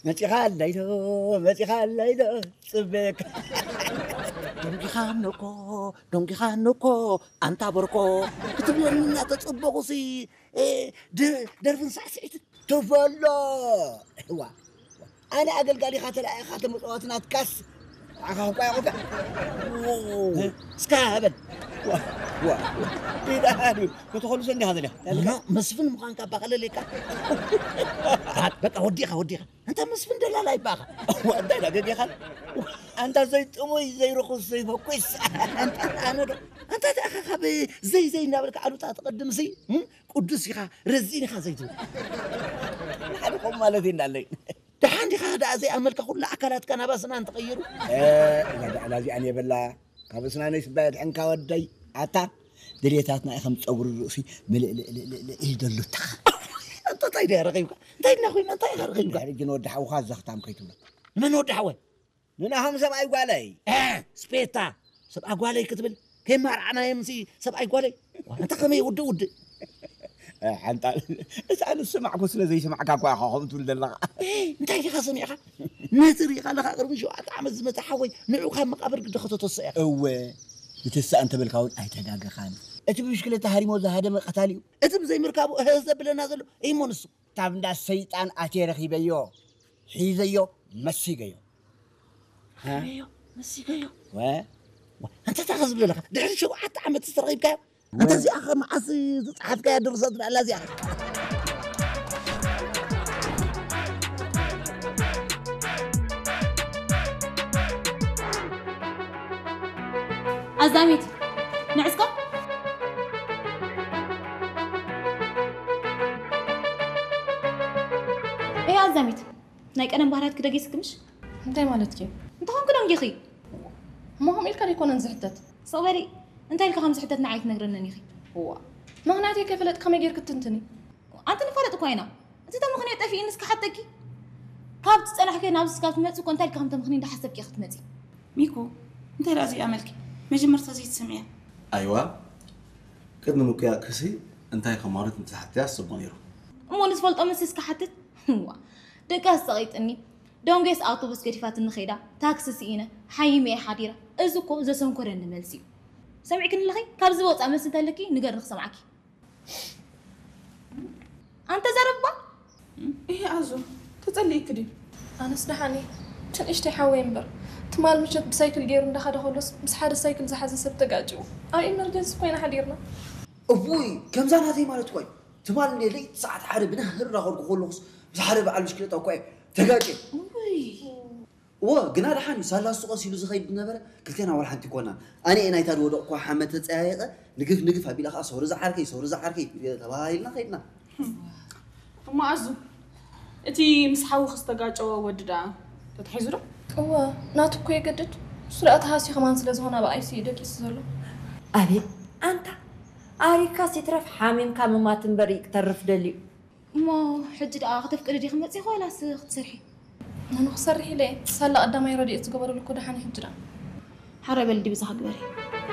መጺኻ ኣላይዶ፣ መጺኻ ኣላይዶ፣ ጽበየካ። ደንጊኻ እኮ፣ ደንጊኻ እኮ፣ ኣንታ ቦርኮ ክትብለኒ እናተጸበኹሲ፣ እ፣ ደ-፣ ደርፍን ሳዕስዒትን ትበሎ። እዋ፣ ኣነ ኣገልጋሊኻ ተላኢኻ ተመጽዋቲ ናትካስ፣ ንዓኻ እኳ ይኹንካ። እ፣ እስካ በል። ዋ፣ ዋ፣ ዋ። ኢዳ ሃዱ፣ ክትኾልሶ እንዲኻ ዘሊኻ። ኣነ መስፍን ምዃንካ ባቐለለካ። በቃ ወዲኻ፣ ወዲኻ። ኣንታ መስፍን ደላላ ይባኻ። እዋ፣ እንታይ ዳ ገጌኻ? ኣንታ ዘይጥሙይ፣ ዘይርኹስ፣ ዘይፈኩስ። ኣንታ ኣነ ዶ? ኣንታ ደኣ ካብ ዘይ ዘይ እናበልካ ኣሉታ ትቐድምሲ፣ እም? ቅዱስ ኢኻ፣ ረዚን ኢኻ ዘይትብል። ሓደ ከምኡ ማለት እዩ እንዳለይ። ደሓን ዲኻ ደኣ ዘይኣመልካ ኩሉ ኣካላትካ ናብ ኣስናን ተቐይሩ? እ፣ እዛ ደዕላ እዚኣ እኔ በላ። ካብ እስናነይ ስባ የድሕንካ ወደይ። ኣታ ድሌታትና እዩ ከም ጸጉሪ ርእሲ ምልእልእልእልእ ኢል ዘሎ። ኣታ እንታይ ድያ ረኺብካ? እንታይ ድና ኮይና? እንታይ ኢኻ ረኺብካ? ድሕሪ ግን ወዲ ሓውኻ ዘኽታም ከይትብሎ። ንመን ወዲ ሓወይ? ንናሆም ሰብኣይ ጓለይ። እ፣ ስፔታ፣ ሰብኣ ጓለይ ክትብል? ከይማርዓናዮምሲ ሰብኣይ ጓለይ? ዋ፣ ኣንታ ከመይ ውድእ ውድእ? እ፣ ሓንጣል፣ እዚ ኣነ ዝሰማዕኩ ስለ ዘይሰማዕካ እኳ ኢኻ ከምኡ ትብል ዘለኻ። እ፣ እንታይ ዲኻ ሰሚዕካ? ነቲ ርኢኻ ኣለኻ ቅድሚ ሸውዓተ ዓመት ዝመጸ ሓወይ፣ ንዑ ካብ መቃብር ግዲ ከተተስኦ ኢኻ። እወ፣ ንትስኣ እንተበልካ እውን ኣይተጋገኻን። እቲ ብብሽክለታ ሃሪሞ ዝሃደመ ቀታሊ እዩ። እቲ ብዘይምርካቡ እህ ዘብለና ዘሎ እሞ ንሱ። ካብ እንዳ ሰይጣን ኣትየ ረኺበዮ፣ ሒዘዮ፣ መሲገዮ። ረኺበዮ፣ መሲገዮ። ወ? ወ-፣ ኣንታ እንታይ ከ ዝብል ዘለኻ? ድሕሪ ሸውዓተ ዓመት ዝተረኺብካዮ? ወ- ኣንታ እዚኣ ኸ መዓስ ዝጸሓፍካያ ድርሰት ኣላ እዚኣ? ኣዛሚት፣ ንዕስኮ። እያ ኣዛሚት። ናይ ቀደም ባህርያትኪ ደጊስኪ ምሽ? እንታይ ማለትኪ? እንተኾንኪ ደንጊኺ። እሞ ከምኡ ኢልካ ደይኮነን ዝሕተት። ስቕ በሊ፣ እንታይ ኢልካ ከም ዝሕተት ንዓይ ኣይትነግረንን ኢኺ። እዋ፣ ምኽንያተይ ከይፈለጥ ከመይ ጌርኪ ትትንትኒ? ኣንቲ ንፋለጥ እኳ ኢና። እቲ ተምኽንዮ ጠፊእኒ እስከ ሓተኪ። ካብ ትጸናሕኪ ናብዚ ስጋብ ትመጺ እኮ እንታይ ኢልካ ከም ተምኽኒ እንዳሓሰብኪ ኢኺ ትመጺ። ሚኩ፣ እንታይ ደኣ ዘይኣመልኪ? መጀመርታ ዘይትሰምዕያ። ኣይዋ፣ ቅድሚ ምኩያክሲ እንታይ ከማረት እንተሓትያ ኣሰቦ ነይሩ። እሞ ንዝፈልጦ ምስ እስከ ሓትት። እዋ፣ ደቂ ኣሳቒጥኒ። ደንጎስ ኣውቶቡስ ገዲፋትኒ ኸይዳ፣ ታክሲ ስኢነ፣ ሓይመ እየ ሓዲረ። እዚ እኮ ዘሰንኮረኒ መልሲ እዩ። ሰሚዕክኒ ኣለኺ? ካብዚ ወጻእ መልሲ እንተለኪ ንገርኒ ክሰምዓኪ። ኣንተ ዘረባ? እሄ ኣዞ፣ ተጸሊእኪ ድዩ? ኣነስ ደሓን እየ። እቲ ንእሽተይ ሓወይ እምበር፣ ትማል ምሸት ብሳይክል ገይሩ እንዳኸደ ከሎስ ምስ ሓደ ሳይክል ዝሓዘ ሰብ ተጋጭው ኣብ ኢመርጀንሲ ኮይና ሓዲርና። እውይ፣ ከምዛ ናተይ ማለት እኮ እዩ። ትማል እንደ ለይቲ ሰዓት ሓደ ብናህር እናኸድኩ ከለኹስ ምስ ሓደ በዓል ብሽክለታ እኮ እየ ተጋጭየ። እውይ። እወ፣ ግና ደሓን እዩ። ሳላ እሱ ቀስ ኢሉ ዝኸይድ ዝነበረ፣ ክልቴና ዋላ ሓንቲ ኣይኮናን። ኣነ እየ ናይታ ዝወደቕኩዋ ሓመድ ተጸያይቐ፣ ንግፍ ንግፍ ኣቢለ ኸኣ፣ "ሶሪ ዝዓርከይ፣ ሶሪ ዝዓርከይ" ተባሂልና ኸይድና። እሞ ኣዙ፣ እቲ ምስ ሓውኺ ዝተጋጨወ ወዲ ደኣ ተታሒዙ ዶ? እወ፣ ናቱ እኮ የገድድ። እሱ ደኣ ተሃስዩ ከማን ስለ ዝኾነ ኣብ ኣይ ሲ ዩ ደቂሱ ዘሎ። ኣቤት ኣንታ፣ ኣሪግካስ ይትረፍ ሓሚምካ ምማት እምበር ይተርፍ ደልዩ። እሞ ሕጂ ደኣ ክተፍቅዲ ዲኺ መጺኺ ዋላስ ክትሰርሒ? ኣነ ክሰርሕ ኢለ እየ። ሳላ ቀዳማይ ረድኤት ዝገበረሉ እኮ ደሓን እዩ ሕጂ ደኣ። ሓራይ በሊ ድዩ ብዛኻ ግበሪ።